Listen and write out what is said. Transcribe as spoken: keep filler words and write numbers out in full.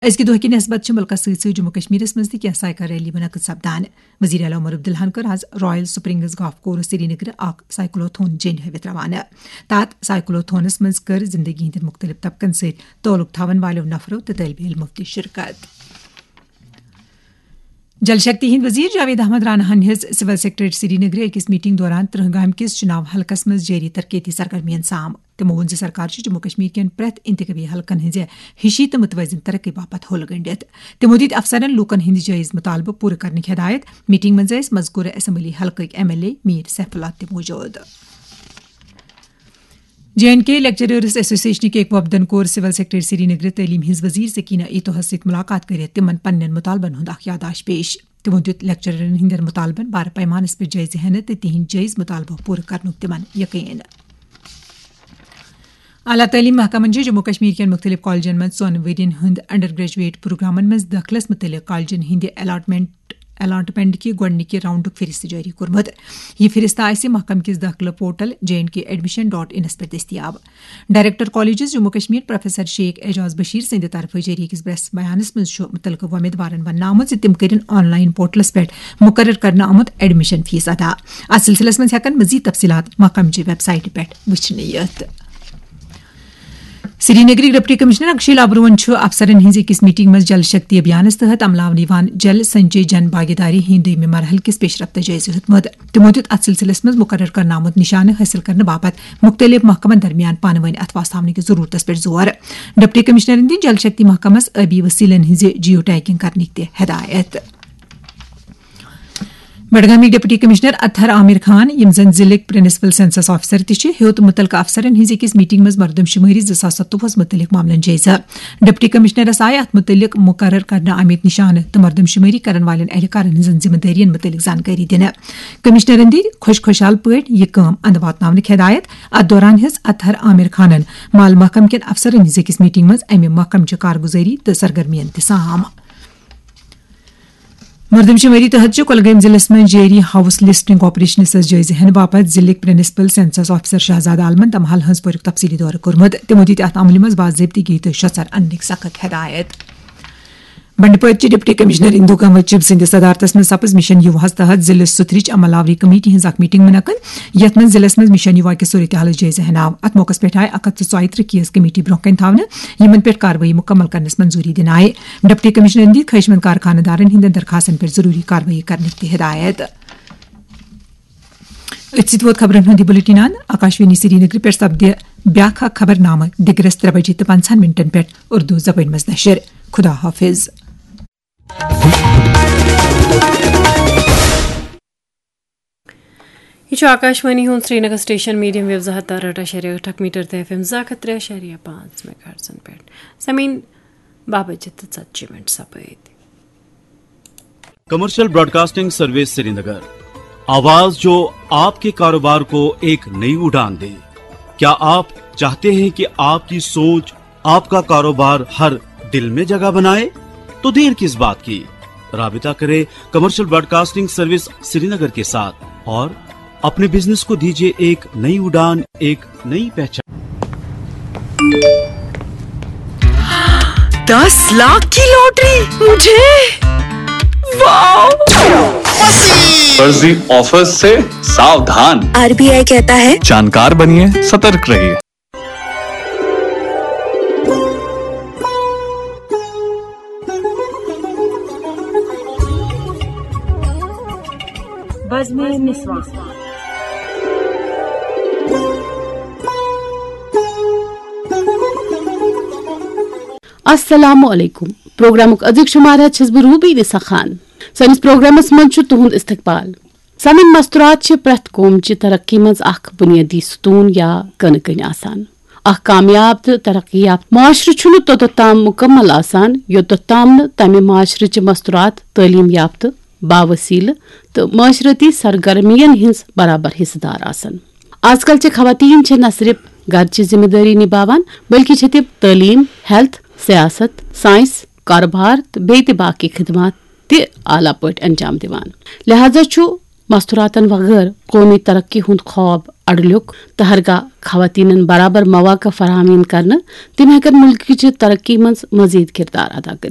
أزکہِ دۄہ کہِ نسبت چھِ مُلکَس سۭتۍ سۭتۍ جموں کشمیرَس منٛز تہِ کینٛہہ سایکل ریلی منعقد سپدان۔ وزیر اعلیٰ عمر عبداللہَن کٔر آز رائل سپرنگز گالف کورس سرینگرٕ اکھ سائیکلوتھون جیٚنۍ ہٲوِتھ روانہٕ۔ تَتھ سائیکلوتھونَس منٛز کٔر زندگی ہٕنٛدٮ۪ن مُختٔلِف طبقن سۭتۍ تعلق تھاوَن والٮ۪و نفرو تہٕ طٲلبہِ علمو تہِ شرکت۔ جل شکتی ہٕنٛدۍ وزیر جاوید احمد رانا ہن ہیٚژ سول سیکرٹریٹ سرینگرٕ أکِس میٹنگ دوران ترٕہ گامہِ کِس چُناو حلقس منٛز جٲری ترقیتی سرگرمین سام۔ تِمو ووٚن زِ سرکار چھِ جموں کشمیر کٮ۪ن پرٛٮ۪تھ انتخابی حلقن ہٕنٛزِ ہِشی تہٕ متوازن ترقی باپتھ حل گٔنڈِتھ۔ تِمو دِتۍ افسرن لوٗکن ہٕنٛدۍ جٲیز مطالبہٕ پوٗرٕ کرنٕکۍ ہدایت۔ میٹنگ منٛز ٲسۍ مذکورٕ اسمبلی حلقٕکۍ M L A Mir Saif Ullah تہِ موجود۔ جے اینڈ کے لیکچررز ایسوسیشنٕکۍ اکہِ وفدن کوٚر سول سیکرٹری سرینگرٕ تعلیٖم ہٕنٛز وزیر سکینہ ایتوہس سۭتۍ مُلاقات کٔرِتھ تِمن پننٮ۪ن مُطالبن ہُنٛد اکھ یادداشت پیش۔ تِمو دِیُت لیکچررن ہٕنٛدٮ۪ن مُطالبن بارٕ پیمانس پٮ۪ٹھ جٲیزٕ ہٮ۪نہٕ تہٕ تِہنٛدۍ جٲیز مُطالبہٕ پوٗرٕ کرنُک تِمن یقین۔ اعلیٰ تعلیٖم محکمن چھِ جموں کشمیر کٮ۪ن مُختٔلِف کالجن منٛز ژۄن ؤرۍ یَن ہُنٛد انڈر گریجویٹ پروگرامن منٛز دٲخلس مُتعلق کالجن ہٕنٛدِ الاٹمنٹ الاٹمنٹ کہِ گۄڈٕنِکہِ راؤنڈُک فہرست جٲری کوٚرمُت۔ یہِ فہرست آسہِ محکمہٕ کِس دٲخلہٕ portal J and K admission dot انس پٮ۪ٹھ دٔستیاب۔ Director colleges Jammu Kashmir professor Sheikh Ejaz Bashir سٕنٛدِ طرفہٕ جٲری أکِس پریس بیانس منٛز چھُ مُتعلقہٕ وۄمیدوارن وننہٕ آمُت زِ تِم کٔرِن آن لائن پورٹلس پٮ۪ٹھ مُقرر کرنہٕ آمُت ایڈمیشن فیس ادا۔ اتھ سلسلس منٛز ہٮ۪کن مزید تفصیلات محکمہٕ چہِ ویب سائٹہِ پٮ۪ٹھ وٕچھنہٕ یِتھ۔ سرینگرٕکۍ ڈپٹی کمشنر اکشے لابروہن چھُ افسرن ہٕنٛزِ أکِس میٹنگ منٛز جل شکتی ابھیانس تحت عملاونہٕ یِوان جل سنچے جن بھاگیداری ہٕنٛدۍ دوٚیمہِ مرحلہٕ کِس پیشرفتس جٲیزٕ ہیوٚتمُت۔ تِمو دیُت اتھ سلسلس منٛز مُقرر کرنہٕ آمُت نشانہٕ حٲصِل کرنہٕ باپتھ مُختٔلِف محکمن درمیان پانہٕ وٲنۍ اتھواس تھاونہٕ کِس ضروٗرتس پٮ۪ٹھ زور۔ ڈپٹی کمشنرن دِتۍ جل شکتی محکمس آبی وسیلن ہٕنٛزِ جیو ٹیگنگ کرنٕکۍ تہِ ہدایت۔ بڈگامٕکۍ ڈپٹی کمشنر اطہر عامر خان، یِم زن ضلعٕکۍ پرنسپل سینسس آفیسر تہِ چھِ، ہیوٚت مُتعلقہٕ افسرن ہٕنٛزِ أکِس میٹنگ منٛز مردم شمٲری زٕ ساس ستووُہس مُتعلق معاملن جٲیزٕ۔ ڈپٹی کمشنرس آیہِ اتھ مُتعلق مُقرر کرنہٕ آمٕتۍ نشانہٕ تہٕ مردم شمٲری کرن والٮ۪ن اہلکارن ہٕنٛزن ذمہٕ دٲرین مُتعلق زانکٲری دِنہٕ۔ کمشنرن دِتۍ خۄش خۄشحال پٲٹھۍ یہِ کٲم اندٕ واتناونٕکۍ ہدایت۔ اتھ دوران ہیٚژ اطہر عامر خانن مال محکمہٕ کٮ۪ن افسرن ہٕنٛزِ أکِس میٹنگ منٛز امہِ محکمہٕ چہِ کارگُزٲری تہٕ سرگرمین تہِ سام۔ مردم شمٲری تحت چھِ کۄلگٲمۍ ضلعس منٛز جٲری ہاؤس لسٹنگ آپریشنس سۭتۍ جٲیزٕ ہٮ۪نہٕ باپتھ ضلعٕکۍ پرنسپل سینسس آفیسر شہزاد عالمن تمہل ہنزپورُک تفصیلی دورٕ کوٚرمُت۔ تِمو دِتۍ اتھ عملہِ منٛز باضٲبطگی تہٕ شۄژر اننٕکۍ سخت ہدایت۔ بنڈپورچہِ ڈپٹی کمشنر اندو کنور چب سٕنٛدِس صدارتس منٛز سپٕز مشن یوواہس تحت ضلعہٕ سُتھرٕچ عمل آوری کمیٹی ہٕنٛز اکھ میٹنگ منعقد، یتھ منٛز ضلعس منٛز مشن یووا کہِ صورتحالٕچ جٲیزٕ ہٮ۪نہٕ آو۔ اتھ موقعس پٮ۪ٹھ آیہِ اکھ ہتھ تہٕ ژۄیہِ ترٕہ کیس کمیٹی برونٛہہ کنہِ تھاونہٕ، یِمن پٮ۪ٹھ کاروٲیی مُکمل کرنس منظوٗری دِنہٕ آیہِ۔ ڈپٹی کمشنرن دِتۍ خٲہِشمند کارخانہٕ دارن ہٕنٛدٮ۪ن درخاستن پٮ۪ٹھ ضروٗری کاروٲیی کرنٕکۍ تہِ ہدایت۔ أتھۍ سۭتۍ ووت خبرن ہُنٛد یہِ بُلٹن اند۔ آکاشوانی سرینگرٕ پٮ۪ٹھ سپدِ بیٛاکھ اکھ خبرنامہٕ دِگرس ترٛےٚ بجے تہٕ پنٛژاہن منٹن پٮ۪ٹھ اردو زبٲنۍ منٛز نشر۔ خدا حافظ۔ یہِ چھُ آکاشوانی ہُنٛد سرینگر سٹیشن، میڈیم ویو زٕ ہتھ تہٕ ارہٲٹھ اَشاریہ ٲٹھ میٹر تہٕ ایف ایم زٕ ہتھ ترٛےٚ اَشاریہ پانٛژھ میگاہرٹزن پٮ۪ٹھ۔ سمعین، باہ بجے تہٕ ژتجی منٹ سپٲدۍ۔ کمرشل براڈکاسٹنگ سروس سرینگر، آواز جو آپ کے کاروبار کو ایک نئی اڑان دے۔ کیا آپ چاہتے ہیں کہ آپ کی سوچ، آپ کا کاروبار ہر دل میں جگہ بنائے؟ تو دیر کس بات کی؟ رابطہ کریں کمرشل براڈکاسٹنگ سروس سرینگر کے ساتھ اور اپنے بزنس کو دیجیے ایک نئی اڑان، ایک نئی پہچان۔ دس لاکھ کی لوٹری مجھے؟ واو! فرضی آفرز سے ساودھان۔ آر بی آئی کہتا ہے، جانکار بنیے، سترک رہیے۔ بزمِ نسواں۔ السلام علیکم۔ پروگرامُک أزیُک شمارٕ ہٮ۪تھ چھَس بہٕ روٗبی نِسا خان۔ سٲنِس پروگرامَس منٛز چھُ تُہُنٛد استقبال۔ سمن، مستورات چھِ پرٛٮ۪تھ قوم چہِ ترقی منٛز اکھ بُنیٲدی ستوٗن یا کٕنہٕ کٔنۍ آسان۔ اکھ کامیاب تہٕ ترقی یافتہٕ معاشرٕ چھُنہٕ توٚتتھ تام مُکمل آسان، یوٚتتھ تام نہٕ تمہِ معاشرٕ چہِ مستورات تعلیٖم یافتہٕ، باوسیلہٕ تہٕ معاشرتی سرگرمین ہٕنٛز برابر حصہٕ دار آسن۔ آز کل چہِ خواتین چھِ نہ صرف گرچہِ ذمہٕ دٲری نباوان، بلکہ چھِ تِم تعلیٖم، ہیلتھ، سیاست، سائنس، کاروبار تہٕ بیٚیہِ تہِ باقی خدمات تہِ اعلیٰ پٲٹھۍ انجام دِوان۔ لہذا چھُ مستوراتن وغٲر قومی ترقی ہُنٛد خواب اڈلیک تہٕ ہرگاہ خواتینن برابر مواقع فراہم یِن کرنہٕ، تِم ہیٚکن مُلکٕچہِ ترقی منٛز مزید کردار ادا کٔرِتھ۔